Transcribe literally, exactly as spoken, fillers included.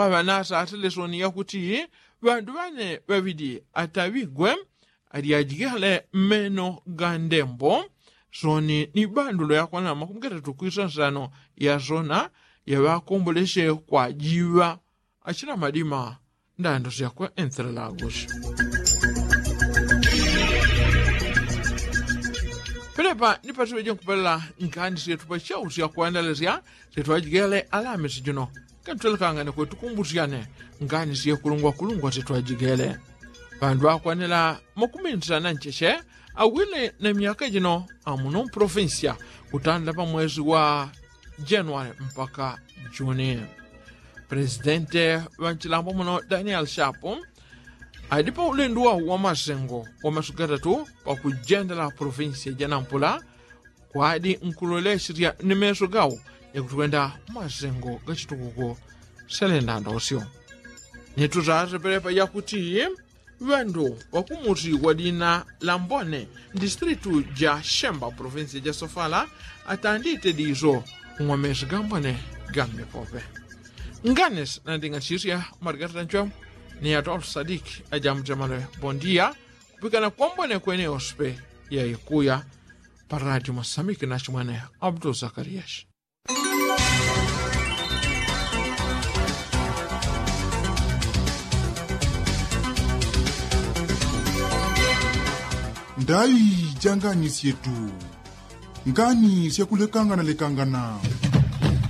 Ŵanasa aselesoni yakuti ŵandu ŵane ŵaŵili ataŵigwe alyajigele mmeno ga ndembo soni ni bandulo yakwana makumigatatu kwisansano yasona yaŵakombolesye kwajiŵa achina madima ndando syakwe enselela agosi. Pelepa ni pasiŵeje nkupelela ngani syetu pasyau syakwandalesya syetwajigele alamisi jino. Kantwelekangane kwetukumbusyane ngani syekulungwakulungwa syetwajigele. Ŵandu ŵakwanela makuminsana ncheche awile na myaka jino amuno mpolofinsiya kutandila pamwesi wa januwali mpaka juni. Pelesidente ŵanchilambo muno daniel shapu adi paulendu wau wamasengo wamasu gatatu pakujendela polofinsiya janampula kwadi nkulolesya ni meso gau yakutwenda masengo gachitukuko selenda ndosyo. Nituzaze pelepa yakuti ŵandu ŵakumusi wa dina la mbone mdistritu ja shemba polofinsiya ja sofala atandite diso ng'wamesi ga mbone ga mmepope. Nganes nanding'anisisya marigata tanchwemo ni atolu sadiki ajamutemale bondiya kupikana kwa mbone kwene yospe yaikuya. Paradi mwasamiki nachimwene abdul zakariyashi. Ndai ja ngani syetu. Ngani syakulekangana lekangana.